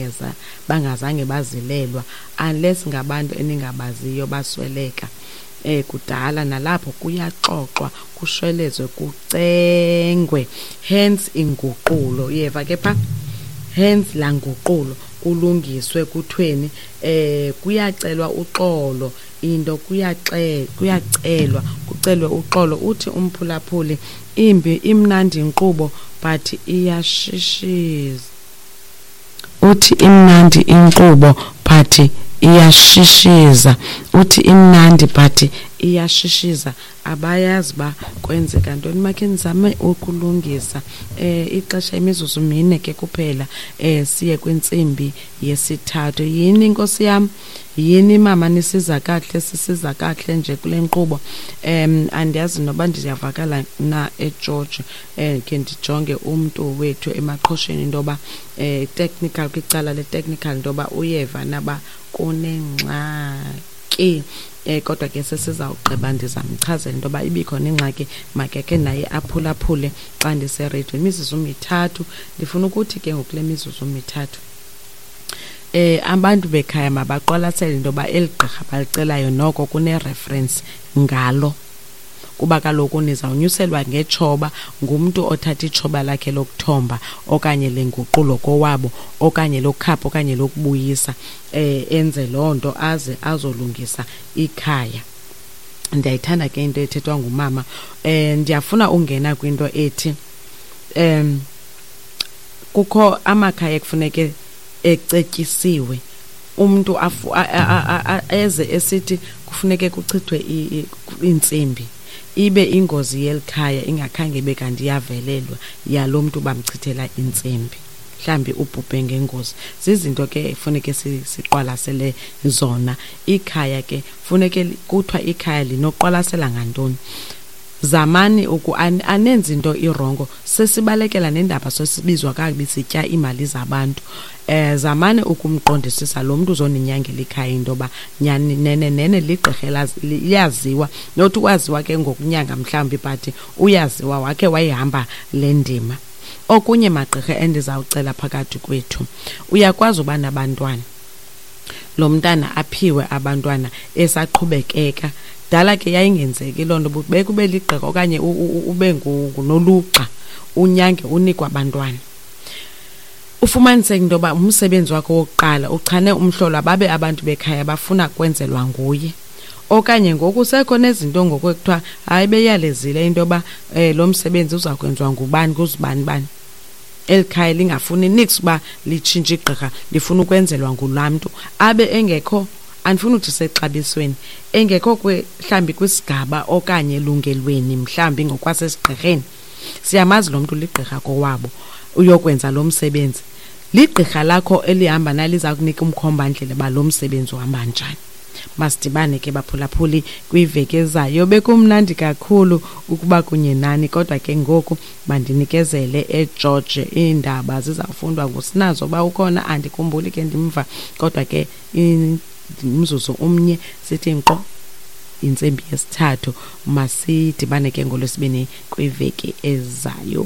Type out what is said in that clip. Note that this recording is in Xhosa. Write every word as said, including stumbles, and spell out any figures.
bangeza bangazange bazilelwa, unless ngabantu eningabaziyo basweleka eh kudala, nalapho kuyaxoxwa, kushwelezwe, kucengwe. Hence inguqulo, uyeva ke pha, hence la nguqulo, kulungiswe, kuthweni, eh kuyacelwa uxolo, into kuyaxe kuyacelwa kucelwe uxolo. Uthi umphulaphuli, imbi imnandi inkqubo but iyashishiza. Uthi imnandi inkqubo but iyashishiza. Uthi imnandi but iyashishiza. Abayazi ba kwenzeka ntoni. Makhe nizame ukulungisa. Eh ixesha imizuzu mine ke kuphela, eh siye kwintsimbi yesithathu. Yini inkosi yam? Yini mama, nisiza kakuhle, sisiza kakuhle nje kule nkqubo. Em andiyazi noba ndiyavakala na eGeorge. Eh ke ndijonge umntu wethu emaqhosheni into yoba eh technical, kwicala le-technical, into yoba uyeva naba kunengxaki. Eh kodwa ke sesizawugqiba, ndizamchazela into yoba ibikhona ingxaki, makeke naye aphulaphule xa ndisereyidweni. Imizuzu mithathu, ndifuna ukuthi ke ngoku kule mizuzu mithathu, eh abantu bekhaya mabaqwalasele into yoba eli gqirha balicelayo noko kune-reference ngalo, kuba kaloku nizawunyuselwa ngetshoba ngumntu othatha itshoba lakhe lokuthomba okanye lenguqulo kowabo okanye lokukhapha okanye lokubuyisa, eh enze loo nto aze azolungisa ikhaya. Ndiyayithanda ke into ethethwa ngumama. Eh ndiyafuna ungena kwinto ethi em kukho amakhaya ekufuneke ecetyisiwe, umntu afu eze esithi kufuneke kuchithwe iintsimbi, ibe ingozi yelikhaya ingakhange ibe kanti iyavelelwa yalo mntu bamchithela intsimbi, mhlambi ubhubhe ngengozi. Zizinto ke funeke siqwalasele zona. Ikhaya ke funeke kuthiwa ikhaya linoqwalasela ngantoni. Zamani uku anenzi into irongo, sesibalekela nendaba sesibizwa kakubi sitya iimali zabantu. Eh zamani ukumqondisisa lo mntu uzoninyangela ikhaya into yoba nyani nene nene ligqirha liyaziwa, not ukwaziwa ke ngokunyanga mhlawumbi, but uyaziwa, wakhe wayihamba le ndima. Okunye magqirha endizawucela phakathi kwethu, uyakwazi uba nabantwana, lo mntana aphiwe abantwana esaqhubekeka. Dala ke yayingenzeki loo nto, bekube ligqirha okanye ube ngunolugxa unyange unikwa abantwana. Ufumaniseke into yoba umsebenzi wakho wokuqala uchane umhlolo, babe abantu bekhaya bafuna kwenzelwa nguye. Okanye ngoku sekho nezinto ngoku ekuthiwa hayi beyalezile into yoba eh lo msebenzi uza kwenziwa ngubani kuzibani bani. Eli khaya lingafuni niks uba litshintshe igqirha, lifuna ukwenzelwa ngulaa mntu abe engekho, andifuni uthi sexabisweni, engekho mhlawumbi kwisigaba okanye elungelweni mhlawumbi ngokwasesigqirheni. Siyamazi lo mntu ligqirha kowabo, uyokwenza lo msebenzi. Ligqirha lakho elihamba naliza kunika umkhombandlela uba lo msebenzi uhamba njani. Masidibane ke baphulaphuli kwiveki ezayo. Bekumnandi kakhulu ukuba kunye nani, kodwa ke ngoku mandinikezele eGeorge. Iindaba zizawufundwa nguSinazo uba ukhona, andikhumbuli ke ndimva, kodwa ke umzuzu omnye sithi nkqo intsimbi yesithathu. Masidibane ke ngoLwesibini kwiveki ezayo.